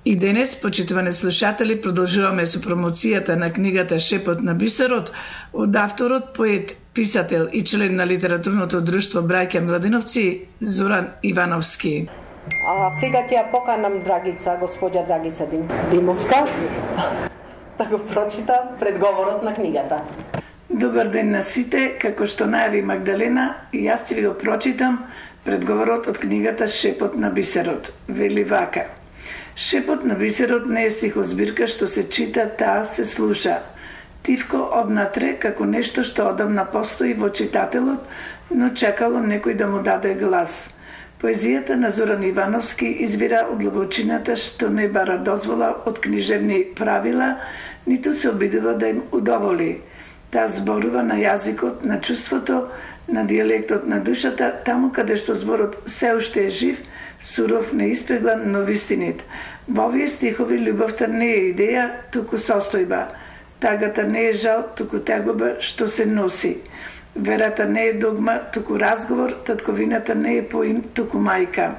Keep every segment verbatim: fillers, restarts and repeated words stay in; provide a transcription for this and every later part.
И денес, почитувани слушатели, продолжуваме со промоцијата на книгата Шепот на бисерот од авторот, поет, писател и член на литературното друштво Браќа Младеновци Зоран Ивановски. А сега ќе ја поканам Драгица, господја Драгица Димовска, да го прочита предговорот на книгата. Добар ден на сите, како што најави Магдалена, и јас ќе ви го прочитам предговорот од книгата Шепот на бисерот. Вели вака: Шепот на бисерот не е стихозбирка што се чита, таа се слуша. Тивко однатре како нешто што одамна постои во читателот, но чекало некој да му даде глас. Поезијата на Зоран Ивановски извира од длабочината што не бара дозвола од книжевни правила, ниту се обидува да им удоволи. Таа зборува на јазикот, на чувството, на дијалектот на душата, таму каде што зборот се уште е жив, суров, неиспеглан, но вистинит. Во овие стихови љубовта не е идеја, туку состојба. Тагата не е жал, туку тегоба што се носи. Верата не е догма, туку разговор, татковината не е поим, туку мајка.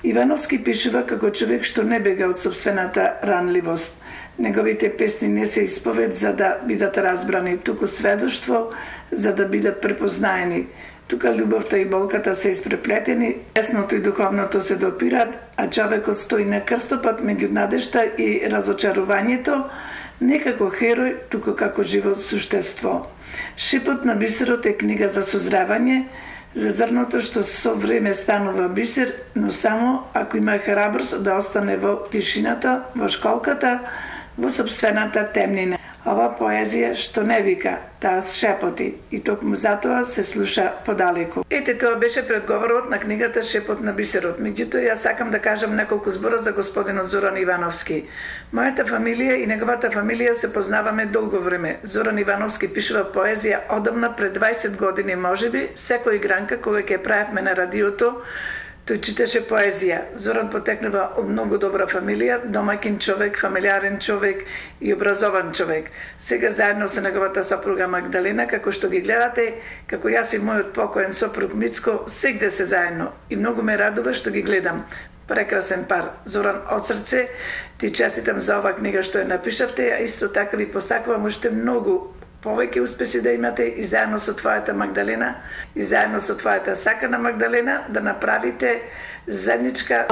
Ивановски пишува како човек што не бега од собствената ранливост. Неговите песни не се исповед за да бидат разбрани, туку сведоштво за да бидат препознаени. Тука љубовта и болката се испреплетени, лесното и духовното се допират, а човекот стои на крстопат меѓу надежта и разочарувањето, не како херој, туку како живо суштество. Шепот на бисерот е книга за созревање, за зрното што со време станува бисер, но само ако има храброст да остане во тишината, во школката, во собствената темнина. Ова поезија што не вика, таа шепоти, и токму затоа се слуша подалеку. Ете, тоа беше предговорот на книгата Шепот на бисерот. Меѓутоа, јас сакам да кажам неколку збора за господинот Зоран Ивановски. Мојата фамилија и неговата фамилија се познаваме долго време. Зоран Ивановски пишува поезија одамна пред двајсет години, можеби, секој гранка кога ќе правевме на радиото, тој читаше поезија. Зоран потекнува од многу добра фамилија, домаќин човек, фамилиарен човек и образован човек. Сега заедно со неговата сопруга Магдалена, како што ги гледате, како јас и мојот покоен сопруг Мицко, сегде се заедно. И многу ме радува што ги гледам. Прекрасен пар. Зоран, од срце ти честитам за ова книга што ја напишавте, а исто така ви посакувам уште многу повеќе успеси да имате и заедно со твојата Магдалена и заедно со твојата сакана Магдалена да направите заедничка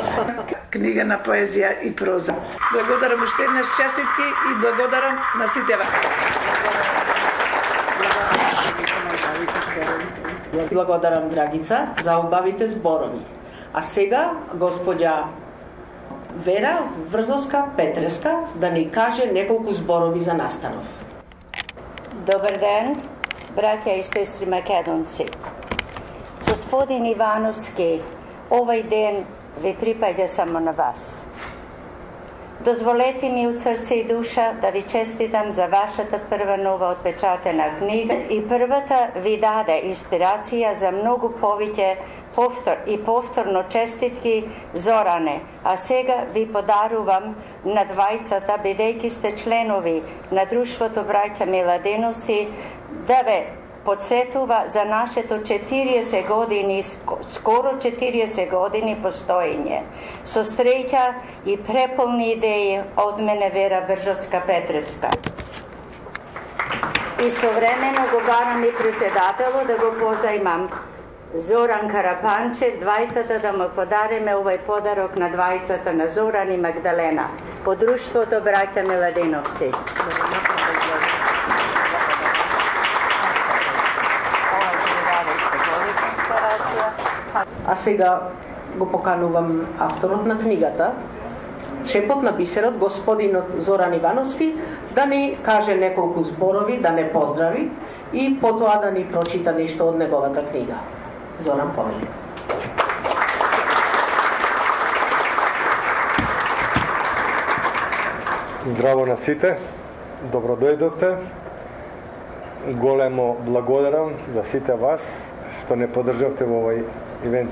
книга на поезија и проза. Благодарам уште еднаш, честитки и благодарам на сите вас. Благодарам, Драгица, за убавите зборови. А сега господја Вера Врзовска-Петреска да ни каже неколку зборови за настанов. Добар ден, браќа и сестри македонци. Господин Ивановски, овој ден ви припаѓа само на вас. Дозволете ми од срце и душа да ви честитам за вашата прва нова отпечатена книга и првата ви даде инспирација за многу повеќе повтор и повторно честитки, Зоране, а сега ви подарувам на двајцата, бидејќи сте членови на Друштвото Браќа Младеновци, да ве подсетува за нашето четириесет години, скоро четириесет години постоење. Со среќа и преполни идеи од мене Вера Врзовска-Петреска. Истовремено го барам и председателот да го позајмам Зоран Карапанче, двајцата да му подариме овој подарок на двајцата на Зоран и Магдалена по Друштвото Браќа Младеновци. А сега го поканувам авторот на книгата Шепот на бисерот, господинот Зоран Ивановски, да ни каже неколку зборови, да не поздрави и потоа да ни прочита нешто од неговата книга. Зоран, повели. Здраво на сите, добро дојдовте. Големо благодарам за сите вас што не поддржавте во овој ивент.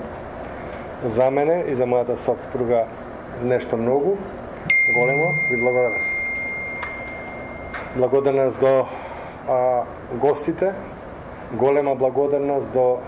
За мене и за мојата сопруга нешто многу. Големо ви благодарам. Благодарност до а, гостите, голема благодарност до